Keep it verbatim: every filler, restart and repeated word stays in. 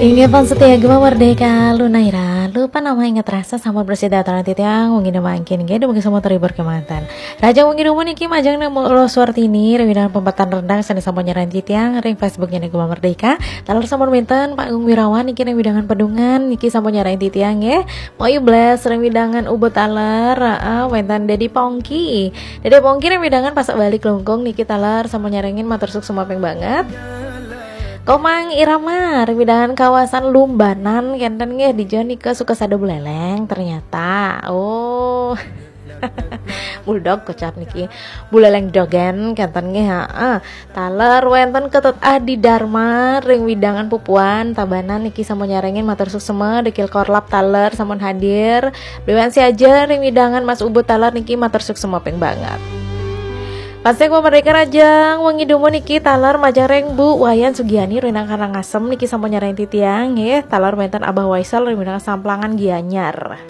Inggih pan setia Gema Merdeka, Luna Ira, lupa nama ingat rasa sama bersih dataran titiang, mungkin mangkin, gede mungkin semua terhibur kematan. Raja mungkin umur niki majang nama Ros Wartini, ring widangan pempatan rendang, sani sama nyerahin titiang, ring Facebooknya nih Gema Merdeka. Taler sama minten, Pak Agung Wirawan, niki ring widangan pedungan, niki sama nyerahin titiang, ya. Mau ibles, ring widangan ubut taler, uh, wentan Dedi Pongki. Dedi Pongki ring widangan pasak balik lungkung, niki taler sama nyerengin matur suksma ping banget. Komang Irama, ring widangan kawasan Lumbanan, kenten nggih di Jawa nika suka sada buleleng ternyata. Oh. Bulldog kocap niki. Buleleng dogen kenten nggih, heeh. Taler wenten Ketut Adi Dharma ring widangan Pupuan Tabanan niki sampun nyarengin matur suksma, Dekil Korlap taler sampun hadir. Dewan Siaja ring widangan Mas Ubud taler niki matur suksma ping banget. Pastek Merdeka Rajang, wengi dumun niki taler majeng ring Bu Wayan Sugiani ring Karangasem niki sampun nyareng titiang nggih, taler wenten Abah Waisal ring widangan Samplangan Gianyar.